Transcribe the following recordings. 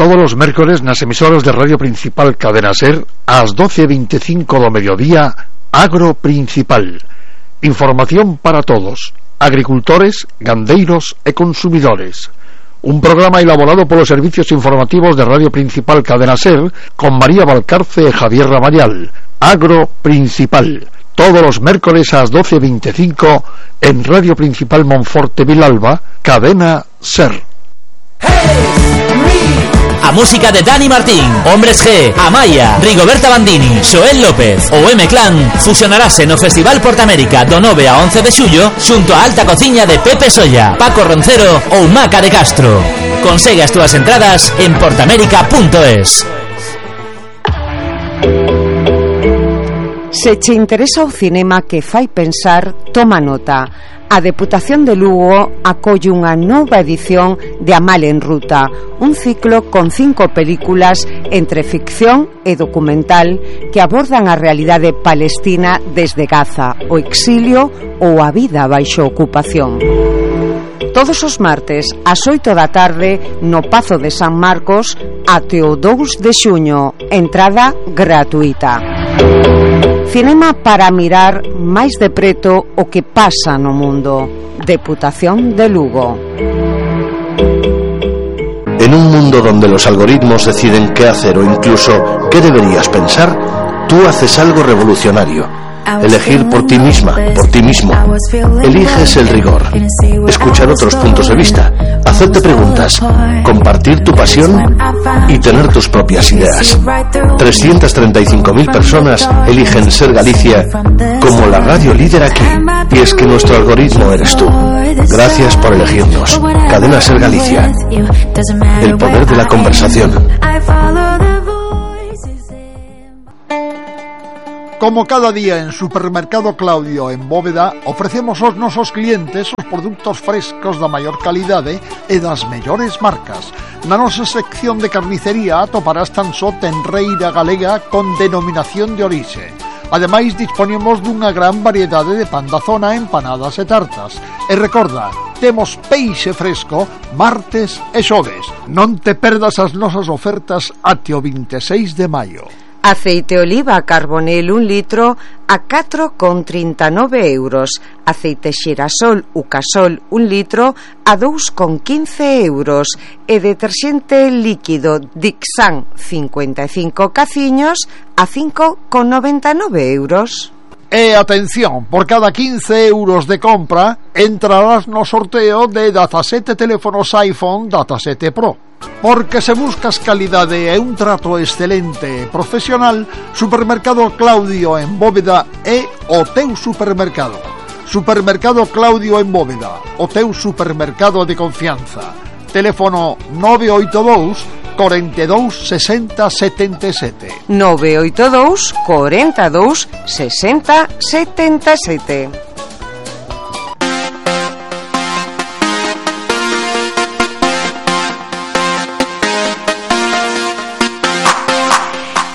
todos os mércores nas emisoras de Radio Principal Cadena Ser ás 12:25 do mediodía, Agro Principal. Información para todos, agricultores, gandeiros e consumidores. Un programa elaborado polos servicios informativos de Radio Principal Cadena Ser con María Valcarce e Javier Ramayal. Agro Principal, todos os mércores ás 12:25 en Radio Principal Monforte Vilalba, Cadena Ser. A música de Dani Martín, Hombres G, Amaya, Rigoberta Bandini, Xoel López ou M-Clan fusionarase no Festival Portamérica do 9 a 11 de xullo xunto á alta cociña de Pepe Solla, Paco Roncero ou Maca de Castro. Consegue as túas entradas en portamérica.es. Se che interesa o cinema que fai pensar, toma nota. A Deputación de Lugo acolle unha nova edición de Amal en Ruta, un ciclo con 5 películas entre ficción e documental que abordan a realidade palestina desde Gaza, o exilio ou a vida baixo ocupación. Todos os martes ás 8 da tarde no Pazo de San Marcos até o 2 de xuño, entrada gratuita. Cinema para mirar máis de preto o que pasa no mundo. Deputación de Lugo. En un mundo donde los algoritmos deciden qué hacer o incluso qué deberías pensar, tú haces algo revolucionario. Elegir por ti misma, por ti mismo. Eliges el rigor, escuchar otros puntos de vista, hacerte preguntas, compartir tu pasión y tener tus propias ideas. 335.000 personas eligen Ser Galicia como la radio líder aquí. Y es que nuestro algoritmo eres tú. Gracias por elegirnos. Cadena Ser Galicia. El poder de la conversación. Como cada día en Supermercado Claudio en Bóveda, ofrecemos aos nosos clientes os produtos frescos da maior calidade e das mellores marcas. Na nosa sección de carnicería atoparás tan só tenreira galega con denominación de orixe. Ademais, disponemos dunha gran variedade de pan da zona, empanadas e tartas. E recorda, temos peixe fresco martes e xoves. Non te perdas as nosas ofertas até o 26 de maio. Aceite oliva Carbonel 1 litro a 4,39 euros. Aceite xirasol Ucasol 1 litro a 2,15 euros. E deterxente líquido Dixan 55 caciños a 5,99 euros. E atención, por cada 15 euros de compra entrarás no sorteo de 17 teléfonos iPhone 17 Pro. Porque se buscas calidade e un trato excelente e profesional, Supermercado Claudio en Bóveda é o teu supermercado. Supermercado Claudio en Bóveda, o teu supermercado de confianza. Teléfono 982 42 60 77. 982 42 60 77.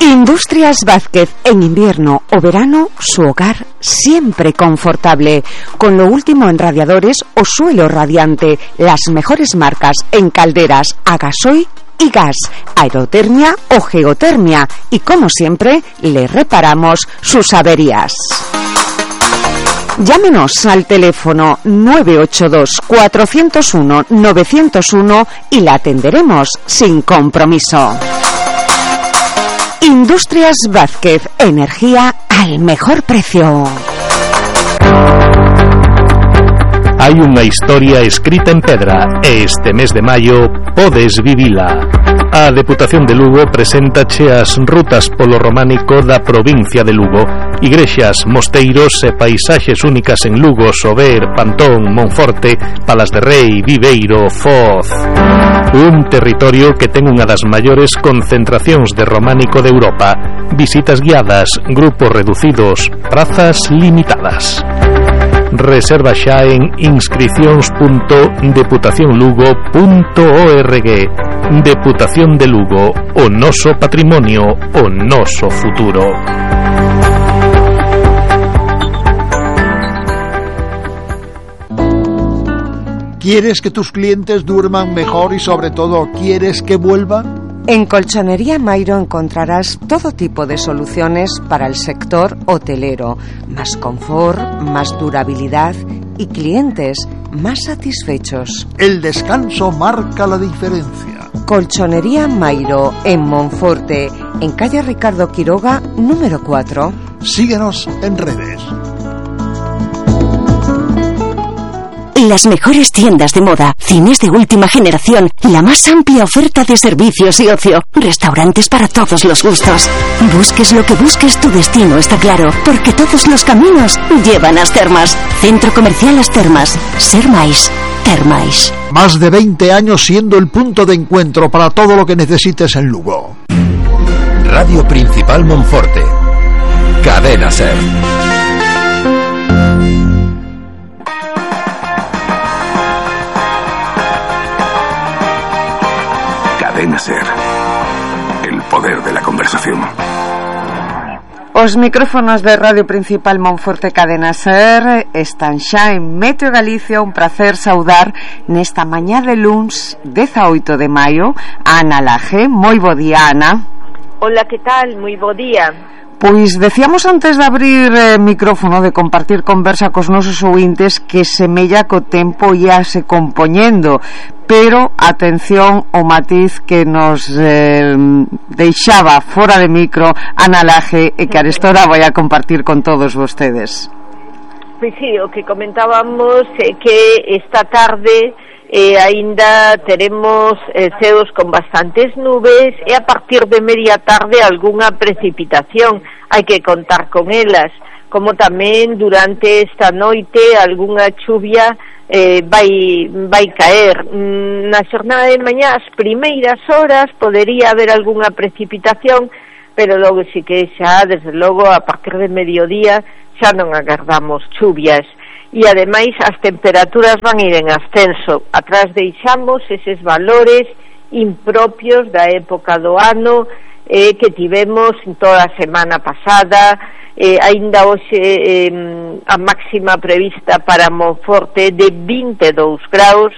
Industrias Vázquez, en invierno o verano, su hogar siempre confortable. Con lo último en radiadores o suelo radiante, las mejores marcas en calderas a gasoil y gas, aerotermia o geotermia. Y como siempre, le reparamos sus averías. Llámenos al teléfono 982 401 901 y la atenderemos sin compromiso. Industrias Vázquez, energía al mejor precio. Hai unha historia escrita en pedra e este mes de maio podes vivila. A Deputación de Lugo preséntache as rutas polo románico da provincia de Lugo, igrexas, mosteiros e paisaxes únicas en Lugo, Sober, Pantón, Monforte, Palas de Rei, Viveiro, Foz. Un territorio que ten unha das maiores concentracións de románico de Europa, visitas guiadas, grupos reducidos, prazas limitadas. Reserva xa en inscricións.deputacionlugo.org. Deputación de Lugo, o noso patrimonio, o noso futuro. ¿Quieres que tus clientes duerman mejor y sobre todo quieres que vuelvan? En Colchonería Mairo encontrarás todo tipo de soluciones para el sector hotelero. Más confort, más durabilidad y clientes más satisfechos. El descanso marca la diferencia. Colchonería Mairo, en Monforte, en calle Ricardo Quiroga, número 4. Síguenos en redes. Las mejores tiendas de moda, cines de última generación, la más amplia oferta de servicios y ocio, restaurantes para todos los gustos. Busques lo que busques, tu destino está claro, porque todos los caminos llevan a As Termas. Centro Comercial As Termas. Ser máis, ter máis. Más de 20 años siendo el punto de encuentro para todo lo que necesites en Lugo. Radio Principal Monforte. Cadena Ser. Cadena Ser. El poder de la conversación. Os micrófonos de Radio Principal Monforte Cadena Ser están xa en Meteo Galicia. Un placer saudar nesta mañá de luns 18 de maio a Ana Laje. Moi bo día, Ana. Hola, que tal? Moi bo día. Pois decíamos antes de abrir micrófono, de compartir conversa cos nosos ouvintes, que semella que o tempo íase compoñendo, pero atención ao matiz que nos deixaba fora de micro Ana Laje e que arestora vai a compartir con todos vostedes. Pois sí, o que comentábamos é que esta tarde aínda teremos ceos con bastantes nubes e a partir de media tarde algunha precipitación, hai que contar con elas, como tamén durante esta noite algunha chuvia vai caer. Na xornada de mañá, as primeiras horas podería haber algunha precipitación, pero logo si que xa, desde logo, a partir de mediodía xa non agardamos chuvias. E ademais as temperaturas van ir en ascenso. Atrás deixamos eses valores impropios da época do ano que tivemos en toda a semana pasada. Aínda hoxe a máxima prevista para Monforte de 22 graus,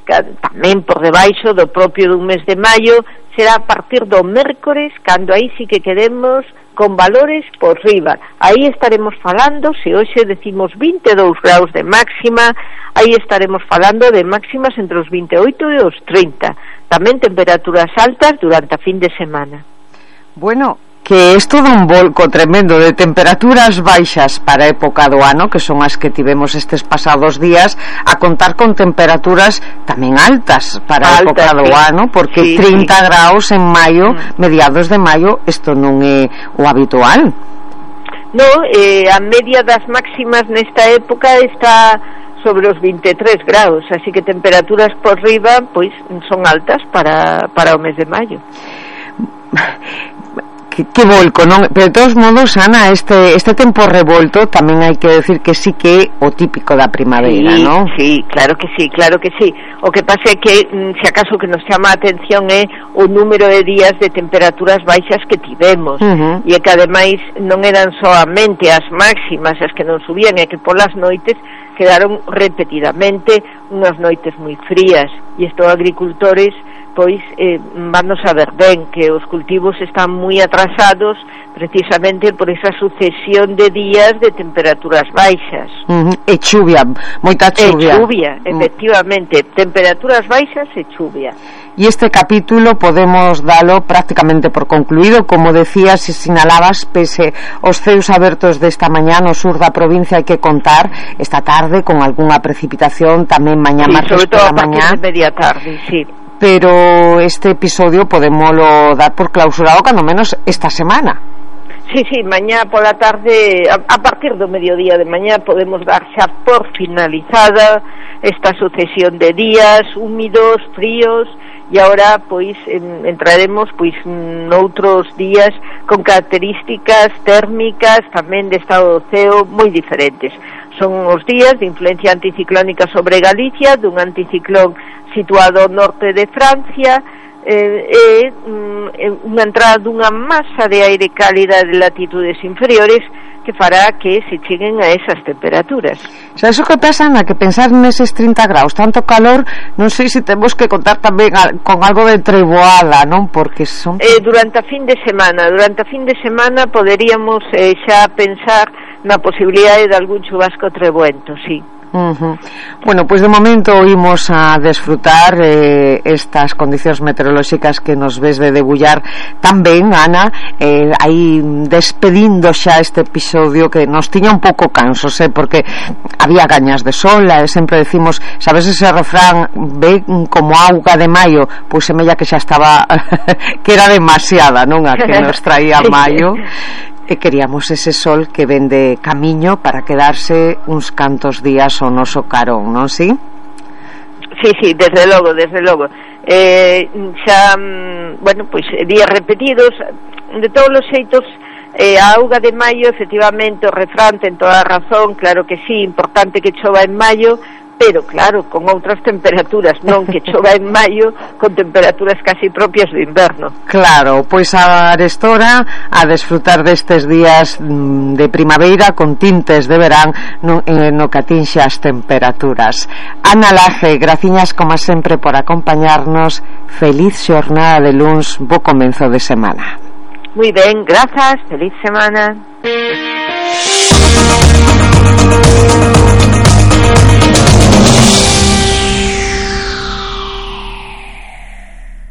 tamén por debaixo do propio dun mes de maio. Será a partir do mércores cando aí sí que quedemos con valores por riba. Aí estaremos falando, se hoxe decimos 22 graus de máxima, aí estaremos falando de máximas entre os 28 e os 30. Tamén temperaturas altas durante a fin de semana. Bueno, que é todo un volco tremendo de temperaturas baixas para a época do ano, que son as que tivemos estes pasados días, a contar con temperaturas tamén altas para a época do ano, porque 30 graus en maio, mediados de maio, isto non é o habitual. No, a media das máximas nesta época está sobre os 23 graus, así que temperaturas por riba pois son altas para o mes de maio. Que volco, non? Pero de todos modos, Ana, este tempo revolto tamén hai que decir que sí que é o típico da primavera, sí, non? Sí, claro que sí, claro que sí. O que pasa é que, se acaso que nos chama a atención é o número de días de temperaturas baixas que tivemos, e é que ademais non eran soamente as máximas as que non subían, é que polas noites quedaron repetidamente unhas noites moi frías, e isto agricultores pois vamos a ver ben que os cultivos están moi atrasados precisamente por esa sucesión de días de temperaturas baixas. E chuvia, moita chuvia. E chuvia, efectivamente, temperaturas baixas e chuvia. E este capítulo podemos dalo prácticamente por concluído, como decías e sinalabas, pese os ceos abertos desta mañá no sur da provincia, hai que contar esta tarde con algunha precipitación, tamén mañá martes pola mañá. Sobre todo a partir de media tarde, sí. Pero este episodio podémoslo dar por clausurado cando menos esta semana. Sí, mañá pola tarde, a partir do mediodía de mañá podemos dar xa por finalizada esta sucesión de días húmidos, fríos, e agora pois entraremos pois noutros días con características térmicas tamén de estado do ceo moi diferentes. Son os días de influencia anticiclónica sobre Galicia, dun anticiclón situado ao norte de Francia, unha entrada dunha masa de aire cálida de latitudes inferiores que fará que se cheguen a esas temperaturas. Xa, iso que pasa, na que pensar neses 30 graus, tanto calor, non sei se temos que contar tamén con algo de treboada, non? Porque son... Durante a fin de semana poderíamos xa pensar na posibilidade de algún chubasco treboento, sí. Bueno, pois de momento imos a desfrutar estas condicións meteorolóxicas que nos ves de debullar tamén, Ana, aí despedindo xa este episodio que nos tiña un pouco cansos, porque había gañas de sol, sempre decimos, sabes ese refrán, ve como auga de maio, pois semella que xa estaba que era demasiada, non, a que nos traía maio. E queríamos ese sol que ven de camiño para quedarse uns cantos días ao noso carón, non si? Sí, desde logo. Xa, bueno, pois días repetidos, de todos os xeitos, a auga de maio, efectivamente, o refrán ten toda a razón, claro que sí, importante que chova en maio, pero claro, con outras temperaturas, non que chova en maio con temperaturas casi propias do inverno. Claro, pois a arestora a desfrutar destes días de primavera con tintes de verán no que atinxe as temperaturas. Ana Laje, graciñas como sempre por acompañarnos. Feliz xornada de luns, bo comenzo de semana. Moi ben, grazas, feliz semana.